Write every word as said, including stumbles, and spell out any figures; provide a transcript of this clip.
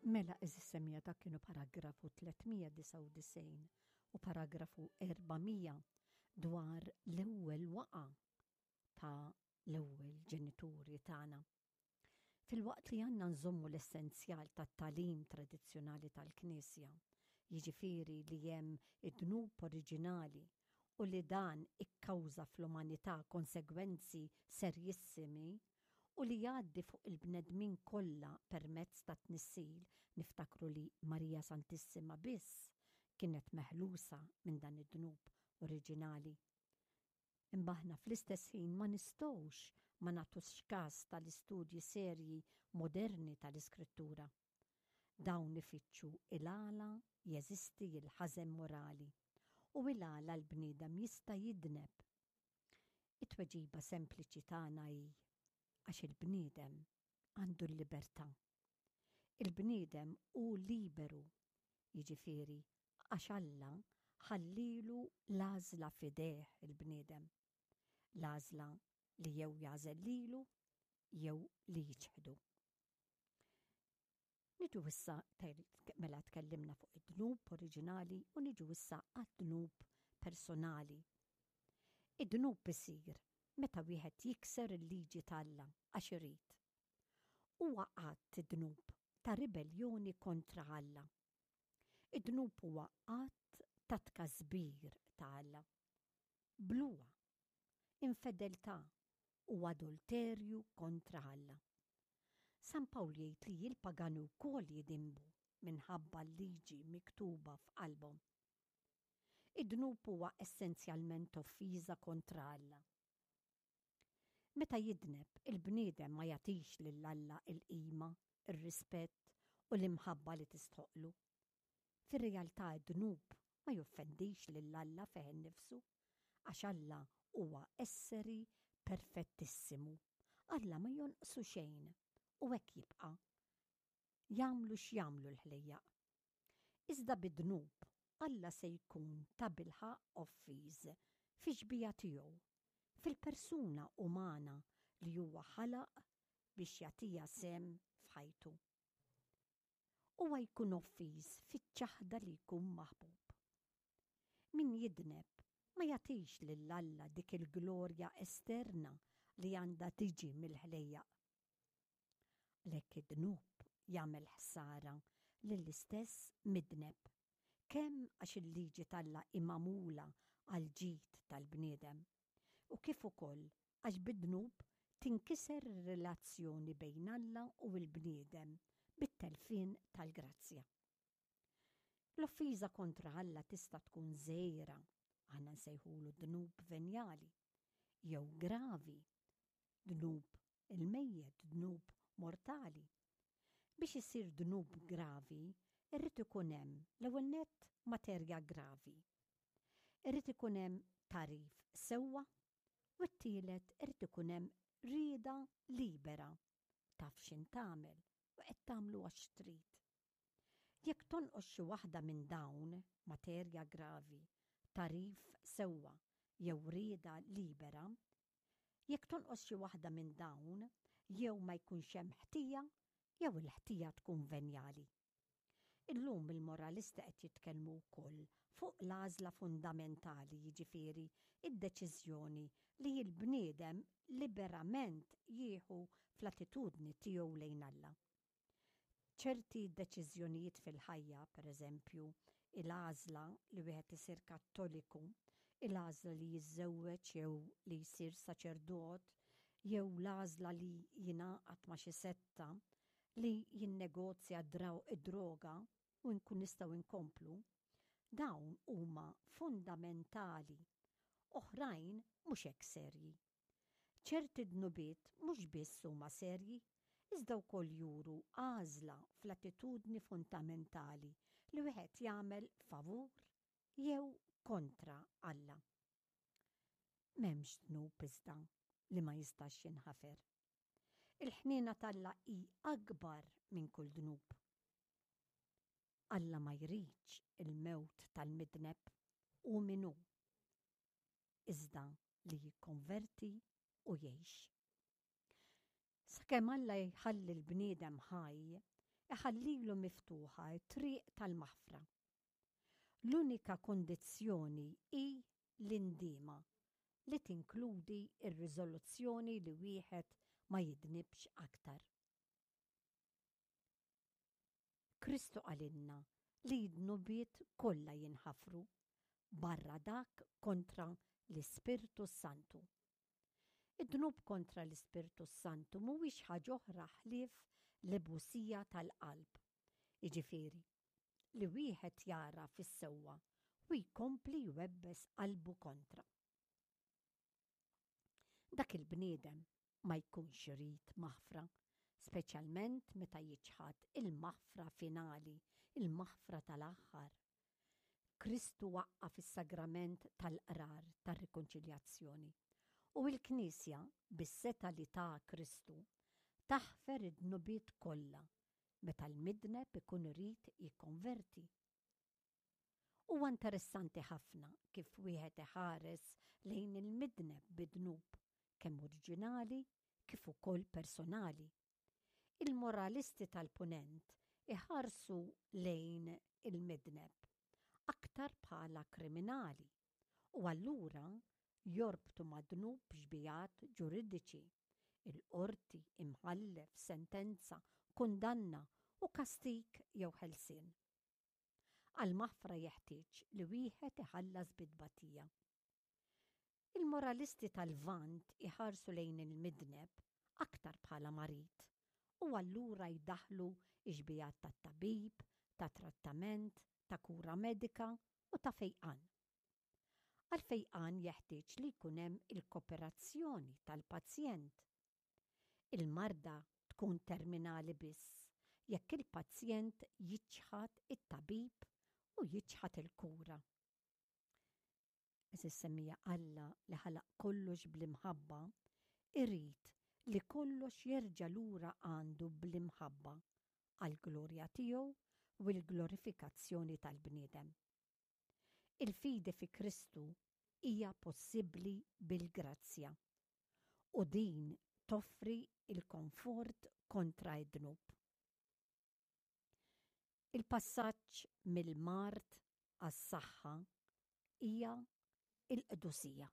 Mela, għeżież semmiegħa, dak kienu paragrafu tliet mija disgħa u disgħin u paragrafu erba' mija dwar l-ewwel waqa ta' l-ewwel ġenituri tagħna. Filwaqt li għandna nżommu l-essenzjal tat-tagħlim tradizzjonali tal-Knisja, jiġifieri li hemm id-dnub oriġinali u li dan ikkawża fl-umanità konsegwenzi serjissimi u li jgħaddi fuq il-bnedmin kollha permezz ta' tnissil, niftakru li Marija Santissima biss kienet meħlusa minn dan id-dnub oriġinali. Imma aħna fl-istess ħin ma nistgħux ma nagħtux kas tal-istudji serji moderni tal-iskrittura. Dawn ifittxu il-għala jeżisti il-ħażen morali u il-għala l-bniedem jista' jidneb. It-tweġiba sempliċi tagħna hi għax il-bniedem għandu l-libertà. Il-bniedem hu liberu, jiġifieri għax Alla ħallielu l-għażla f'idejh il-bniedem. L-għażla li jew jagħżel lilu jew li jiċħdu. Niġu issa, mela tkellimna fuq id-dnub oriġinali u niġu issa għad-dnub personali. Id-dnub isir meta wieħed jikser il-liġi t'Alla għax irid. Huwa att id-dnub ta' ribellioni kontra Alla. Id-dnub huwa att ta' tkasbir ta' Alla. Bluha, infedeltà u adulterju kontra Alla. San Pawl jgħid li l-pagani wkoll jidinbu minħabba l-liġi miktuba f'qalbhom. Id-dnub huwa essenzjalment offiża kontra Alla. Meta jidneb, il-bniedem ma jagħtix lil Alla il-qima, ir-rispett u l-imħabba li tistħoqlu. Fir-realtà, id-dnub ma joffendix lil Alla fih innifsu, għax Alla huwa esseri perfettissimu. Alla ma jonqsu xejn u hekk jibqa'. Jagħmlu x'jagħmlu l-ħlejjaq. Iżda bid-dnub Alla se jkun ta' bilħaq offiż fi xbieha tiegħu, fil-persuna umana li huwa ħalaq biex jagħtiha sehem f'ħajtu. Huwa jkun offiż fiċ-ċaħda li jkun maħbub. Min jidneb ma jagħtix lil Alla dik il-glorja esterna li għandha tiġi mill-ħlejjaq. Għalhekk id-dnub jagħmel ħsara lill-istess midneb, kemm għax il-liġi t'Alla hi magħmula għall-ġid tal-bniedem, u kif ukoll għax bid-dnub tinkiser ir-relazzjoni bejn Alla u l-bniedem bit-telfien tal-grazzja. L-offiża kontra Alla tista' tkun żgħira, aħna nsejħulu dnub venjali, jew gravi, dnub il-mejjet, dnub mortali. Biex isir dnub gravi, irrid ikun hemm l-ewwel nett materja gravi. Irrid ikun hemm tagħrif sewwa u t-tielet irrid ikun hemm rieda libera. Taf x'int tagħmel u qed tagħmlu għax trid. Jekk tonqos xi waħda minn dawn, materja gravi, tagħrif sewwa jew rieda libera, jekk tonqos xi waħda minn dawn, jew ma jkunx hemm ħtija jew il-ħtija tkun venjali. Illum il-moralisti qed jitkellmu wkoll fuq l-għażla fundamentali, jiġifieri id-deċiżjoni li l-bniedem liberament jieħu fl-attitudni tiegħu lejn Alla. Ċerti deċiżjonijiet fil-ħajja, per eżempju, il-għażla li wieħed isir Kattoliku, il-għażla li jiżżewweġ jew li jsir saċerdot, jew l-għażla li jingħaqad ma' xi setta, li jinnegozja id-droga u nkun nistgħu nkomplu, dawn huma fundamentali. Oħrajn mhux hekk serji. Ċerti dnubiet mhux biss huma serji, iżda wkoll juru għażla fl-attitudni fundamentali li wieħed jagħmel favur jew kontra Alla. M'hemmx dnub iżda li ma jistax jinħafer. Il-ħniena t'Alla hi akbar minn kull dnub. Alla ma jridx il-mewt tal-midneb u minnu, iżda li jikkonverti u jgħix. Sakemm Alla jħalli l-bniedem ħaj, iħallilu miftuħa t-triq tal-maħfra. L-unika kundizzjoni hi l-indiema li tinkludi r-riżoluzzjoni li wieħed ma jidnibx aktar. Kristu qalilna li d-dnubiet kollha jinħafru barra dak kontra l-Ispirtu s-Santu. Id-dnub kontra l-Ispirtu s-Santu mhuwiex ħaġa oħra ħlief l-ebusija tal-qalb. Jiġifieri, li wieħed jara fis-sewwa u jkompli jwebbes qalbu kontra. Dak il-bniedem ma jkunx irid maħfra, speċjalment meta jiċħad il-maħfra finali, il-maħfra tal-aħħar. Kristu waqqaf is-sagrament tal-qrar tar-rikonċiljazzjoni u l-Knisja bis-setgħa li ta Kristu taħfer id-dnubiet kollha meta l-midneb ikun irid jikkonverti. Huwa interessanti ħafna kif wieħed iħares lejn il-midneb bid-dnub kemm oriġinali kif ukoll personali. Il-moralisti tal-punent iħarsu lejn il-midneb aktar bħala kriminali u allura jorbtu ma' dnub xbijat ġuridiċi, il-qorti, imħallef, sentenza, kundanna u kastig jew ħelsien. Għal-maħfra jeħtieġ li wieħed iħallas bit-tbatija. Il-moralisti tal-Lvant iħarsu lejn il-midneb aktar bħala marid u allura jdaħħlu xbijat tat-tabib, ta' trattament, ta' kura medika u ta' fejqan. Għal-fejqan jeħtieġ li jkun hemm il-kooperazzjoni tal-pazjent. Il-marda tkun terminali biss jekk il-pazjent jiċħad it-tabib u jiċħad il-kura. Għeżież semmiegħa, Alla li ħalaq kollox bl-imħabba, irid li kollox jerġa' lura għandu bl-imħabba għall-glorja tiegħu u l-glorifikazzjoni tal-bniedem. Il-fidi fi Kristu hija possibbli bil-grazzja u din toffri il-komfort kontra id-dnub. Il-passaġġ mill-mard għas-saħħa hija il-qdusija.